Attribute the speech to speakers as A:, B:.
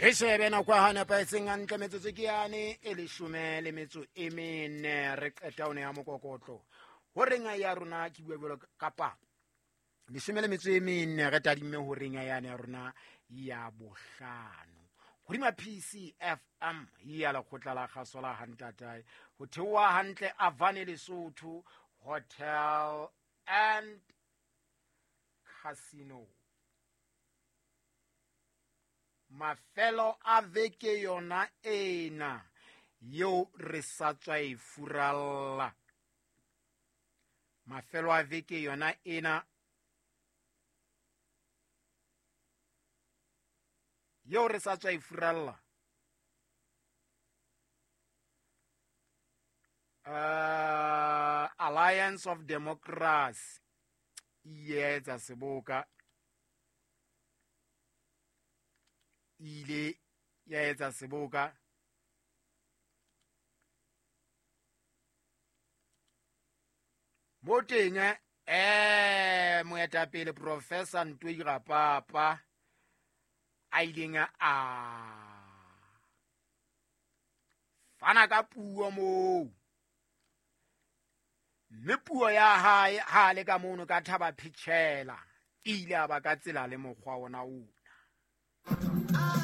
A: Re shebe nako ya nepahetseng hantle, metsotso ke yane e 14, re qeta o ne ya mokokotlo ho reng ya rona. Ke bua jwalo kapa 14, re tadimme ho reng yane ya rona ya bohlano hodima PCFM ya lekgotla la kgaso la hantatae ho theoha hantle Avane Lesotho Hotel and Casino. Mafelo a veke yona ena yeo re sa tswa e furalla, mafelo a veke yona ena yeo re sa tswa e furalla, Alliance of Democracy e etsa seboka, ile ya etsa seboka mo teng. Moetapele Professor Ntoi Rapapa a ileng a fana ka puo moo, mme puo ya hae ha le ka mono ka thaba phitjhela, e ile a ba ka tsela le mokgwa ona ona.